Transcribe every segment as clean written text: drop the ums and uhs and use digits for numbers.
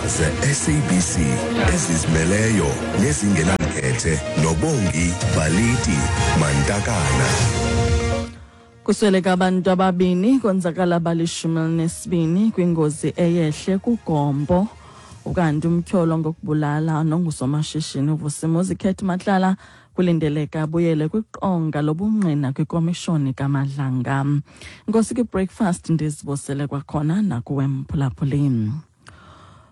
ze-SABC ezizimeleyo nezingenamkhethe noBongi Baliti Mantakana. Kusweleka abantu ababini konzakala abali-12 kwingozi eyehle kuGompo. Ukanti umtyholwa ngokubulala nongusomashishini uVusimuzi Cat Matlala kulindeleka abuyele kwiqonga lobungqina kwikomishoni kaMadlanga. Nkosi kwi-breakfast ndizibusele kwakhona nakuwe mphulaphuli.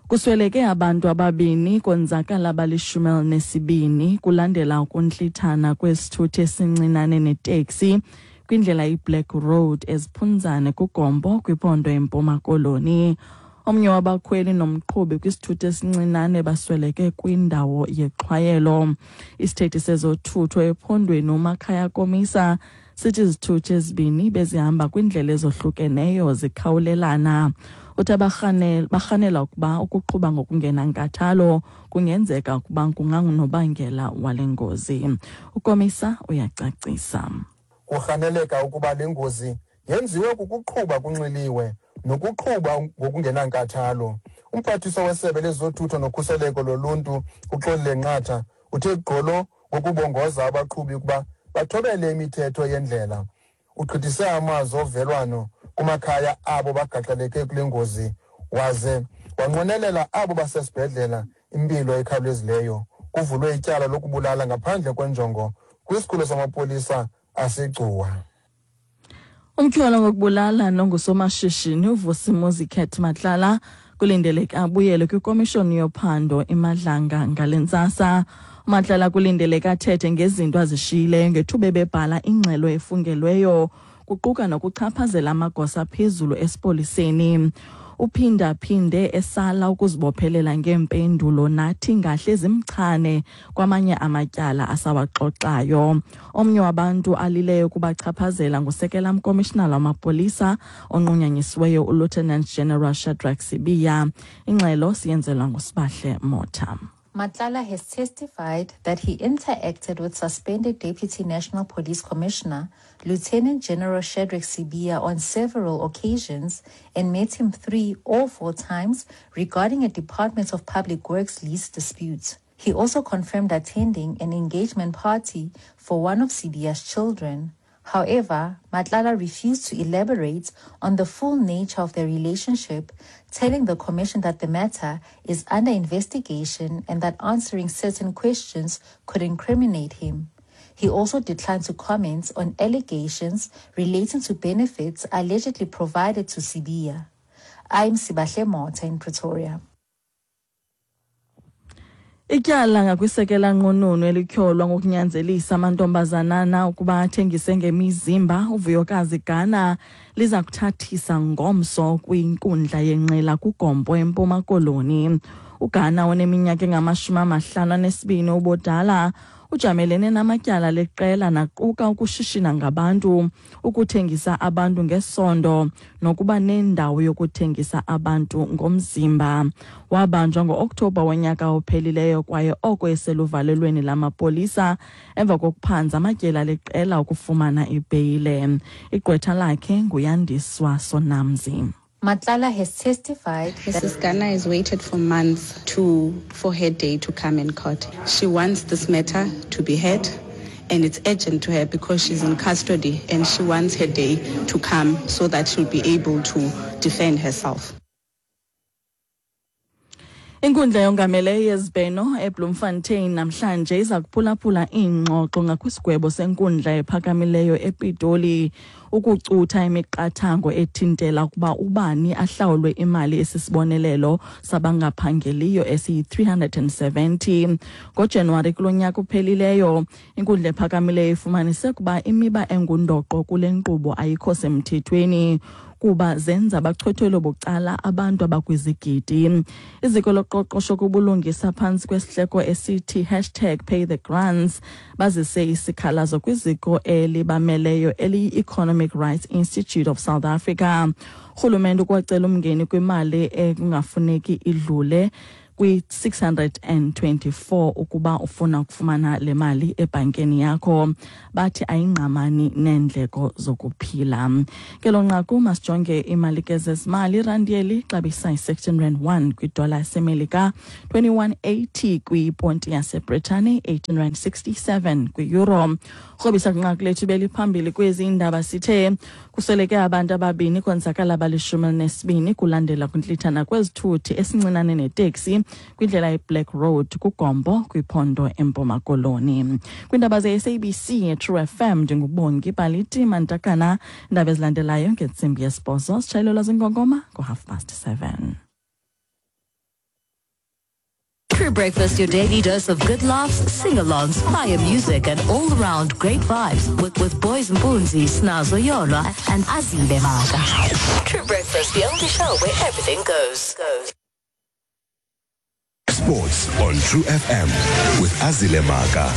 Kusweleke abantu ababini konzakala abali-12 kulandela ukuntlithana kwesithuthi esincinane neteksi kwindlela iBlack Road eZiphunzane kuGompo kwiphondo eMpuma Koloni. Omnye wabakhweli nomqhubi kwisithuthi esincinane basweleke kwindawo yexhwayelo. Isithethi sezothutho ephondweni uMakhaya Komisa sithi izithuthi ezibini bezihamba kwiindlela ezohlukeneyo zikhawulelana. Uthi barhanela ukuba ukuqhuba ngokungenankathalo kungenzeka ukuba kungangunobangela wale ngozi. UKomisa uyacacisa. Kurhaneleka ukuba le ngozi yenziwe kukuqhuba kunxiliwe nokuqhuba ngokungenankathalo. Umphathiswa wesebe lezothutho nokhuseleko loluntu uXolile Nqatha uthe gqolo ngokubongoza abaqhubi ukuba bathobele imithetho yendlela. Ugqithise amazwi ovelwano kumakhaya abo bagaxeleke kule ngozi waze wanqwenelela abo basesibhedlela impilo ekhawulezileyo. Kuvulwe ityala lokubulala ngaphandle kwenjongo kwisikhululo samapolisa aseGcuwa. Umtyholwa ngokubulala nongusomashishini uVusimuzi Cat Matlala kulindeleke abuyele kwikomishoni yophando iMadlanga ngale ntsasa. UMatlala kulindeleke athethe ngezinto azishiyileyo ngethuba ebebhala ingxelo efungelweyo kuquka nokuchaphazela amagosa aphezulu esipoliseni. Uphinda-phinde esala ukuzibophelela ngeempendulo nathi ngahle zimchane kwamanye amatyala asawaxoxayo. Omnye wabantu alileyo kubachaphazela ngusekela mkomishinala wamapolisa onqunyanyisiweyo uLieutenant General Shadrack Sibiya. Ingxelo siyenzelwa nguSibahle Motha. Matlala has testified that he interacted with suspended Deputy National Police Commissioner Lieutenant General Shadrack Sibiya on several occasions and met him 3 or 4 times regarding a Department of Public Works lease dispute. He also confirmed attending an engagement party for one of Sibiya's children. However, Matlala refused to elaborate on the full nature of their relationship, telling the commission that the matter is under investigation and that answering certain questions could incriminate him. He also declined to comment on allegations relating to benefits allegedly provided to Sibiya. I'm Sibahle Motha in Pretoria. Ityala ngakwisekela nqununu elityholwa ngokunyanzelisa amantombazanana ukuba athengise ngemizimba uVuyokazi Gana liza kuthathisa ngomso kwinkundla yenqila kuGompo eMpuma Koloni. uGana oneminyaka engama-52 ubudala ujamelene namatyala leqela naquka ukushishina ngabantu, ukuthengisa abantu ngesondo nokuba nendawo yokuthengisa abantu ngomzimba. Wabanjwa ngo-Okthobha wonyaka ophelileyo kwaye oko eseluvalelweni lamapolisa emva kokuphanza amatyela leqela ukufumana ibheyile. Igqwetha lakhe nguYandiswa Sonamzi. Matlala has testified that Mrs. Gana has waited for months for her day to come in court. She wants this matter to be heard, and it's urgent to her because she's in custody and she wants her day to come so that she'll be able to defend herself. Inkundla yongameleyo yezibheno eBloemfontein namhlanje iza kuphulaphula iingxoxo ngakwisigwebo senkundla ephakamileyo ePitoli ukucutha imiqathango ethintela ukuba ubani ahlawulwe imali esisibonelelo sabangaphangeliyo esiyi-370. NgoJanuwari kulo nyaka uphelileyo, inkundla ephakamileyo ifumanise ukuba imiba engundoqo kule nkqubo ayikho semthethweni kuba zenza bachwethwelo bucala abantu abakwizigidi. Iziko loqoqosho kubulungisa phantsi kwesihleko esithi hashtag pay the grants bazise isikhalazo kwiziko elibameleyo eliyi-Economic Rights Institute of South Africa. Urhulumente ukwacela umngeni kwimali ekungafuneki idlule kwi-624 ukuba ufuna ukufumana le mali ebhankeni yakho. Bathi ayingqamani neendleko zokuphila. Kelo nqaku masijonge imali ke zezimali. Irandi yeli xabisa i-16 rand 1 kwidola yasemelika, 21.80 kwiponti yaseBritani, 18 rand 67 kwi-euro. Krobisa kwinqaku lethu beliphambili kwezi indaba, sithe kusweleke abantu ababini konzakala abali-12 kulandela kwintlithana kwezithuthi esincinane neteksi kwindlela iBlack Road kuGompo kwiphondo eMpuma Koloni. Kwiindaba ze-SABC True FM, ndinguBongi Baliti Mantakana. Iindaba ezilandelayo ngentsimbi yesibhozo, sitshayelelwa zinkonkoma ngo-7:30. True Breakfast, your daily dose of good laughs, sing-alongs, fire music, and all-round great vibes with Boys Mpunzi, Snazo Yolwa, and Azile Maka. True Breakfast, the only show where everything goes. Goes. Sports on True FM with Azile Maka.